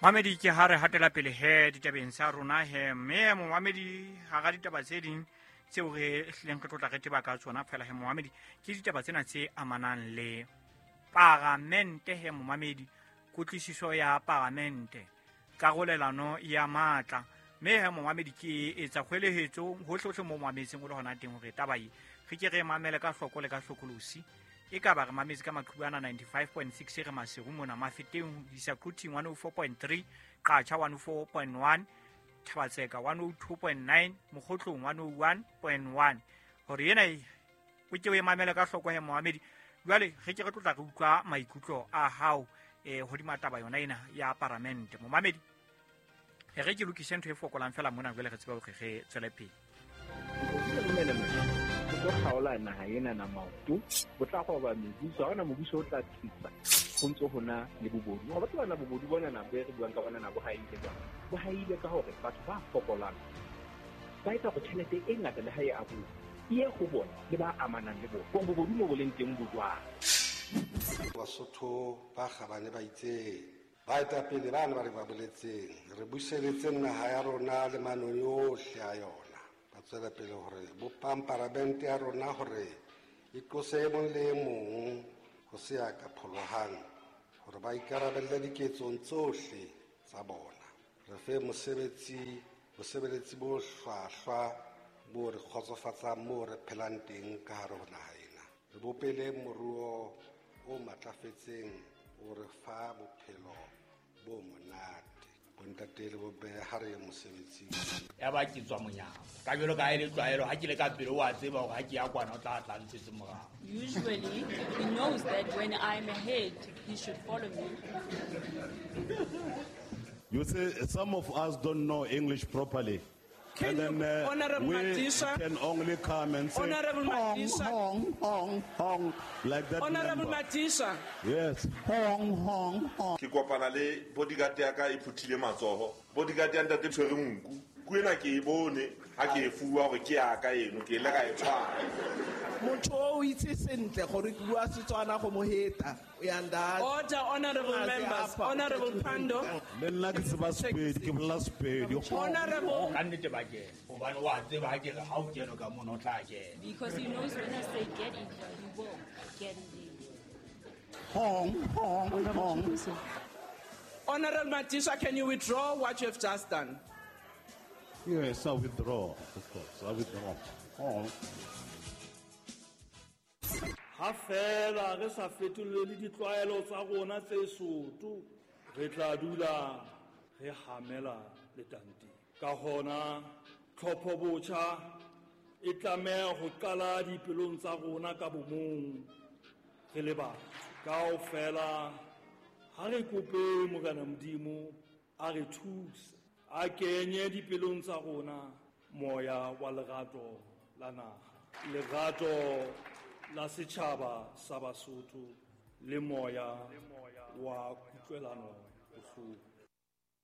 Mamedi ke ha re hatela pele he ditabeng tsa rona he, mme momamedi hara ditaba tse ding tseo re hlileng re tlotla re teba ka tsona fela he momamedi, ke ditaba tsena tse amanang le paramente he momamedi, kutlwisiso ya paramente, karolelano ya matla. Mme he momamedi ke etsa kgwelehetso hohlehohle mo mametseng o le hona teng hore taba e re ke re mamele ka hloko le ka hlokolosi. E ka ba re mametse ka maqhubu ana 95.6 re Maseru mona, Mafeteng ho isa Quthing 104.3, Qacha 104.1, Thabatseka 102.9, Mokgotlong 101.1. Hore ena e o ke o e mamele ka hloko he momamedi. Jwale re ke re tlotla re utlwa maikutlo a hao hodima taba yona ena ya paramente. Momamedi, e re ke lokise ntho e fokolang fela mona, jwale re tsebe hore re tswele pele. Bo tlo kgaola naha ena na maoto, bo tla roba mebuso, ha hona mobuso o tla tsitsa ho ntso hona le bobodu. Wa batho bana bobodu bona na be re buang ka bona na bo haile jwang? Bo haile ka hore batho ba fokolang ba etsa hore tjhelete e ngata le ha e abuwa e ye ho bona le ba amanang le bona. Hore bobodu mo bo leng teng bo jwang? Basotho ba kgabane ba itseng, baetapele bana ba re ba boletseng, re buseletseng naha ya rona le manong yohle a yona. Ba tswela pele hore bopang paramente ya rona hore e qose e mong le e mong ho se ya ka pholohang, hore ba ikarabelle diketsong tsohle tsa bona. Re fe mosebetsi, bosebeletsi bo hlwahlwa bo re kgotsofatsang moo re phelang teng ka hare ho naha ena. Re bopele moruo o matlafetseng o re fa bophelo bo monate. Bontate le bomme ha re ye mosebetsing. Ya ba ke tswa monyako. Ka jwalo ka ha e le tlwaelo, ha ke le ka pele o a tseba hore ha ke ya kwana o tla tla ntshetse morao. Usually, he knows that when I'm ahead, he should follow me. You see, some of us don't know English properly. Can And then, you, Honorable we Madisa, can only come and say, Honorable Hong, Madisa. hong, hong, hong, like that. Honorable number. Madisa. Yes. Hong, hong, hong. Ke kopana le bodyguard ya ka e phuthile matsoho. Bodyguard ya ntate tshwere nku. Ku ena ke e bone ha ke e fuwa hore ke ya ka eno, ke ile ka e tshwara. Motho o itse sentle gore ke bua Setswana go mo heta. O ya nda. Order, honorable A se members. apa. Honorable Pandor. Le nna ke tseba Sepedi, ke bolela Sepedi. Honorable. Ka nnete ba kena. Hobane wa tseba ha ke re ha o kene ka mono o tla kena. Because he knows when I say get in here, he will get in there. Hong, hong, hong. Honorable Madisa, can you withdraw what you have just done? Yes, I withdraw, of course. I withdraw. Hong. Ha fela re sa fetolele ditlwaelo tsa rona tse soto, re tla dula re hamela letanteng. Ka hona, tlhopho botjha e tlameha ho qala dipelong tsa rona ka bomong re le batho. Kaofela ha re kope Morena Modimo a re thuse, a kenye dipelong tsa rona moya wa lerato la naha, lerato la setjhaba sa Basotho le moya wa kutlwelano bohloko.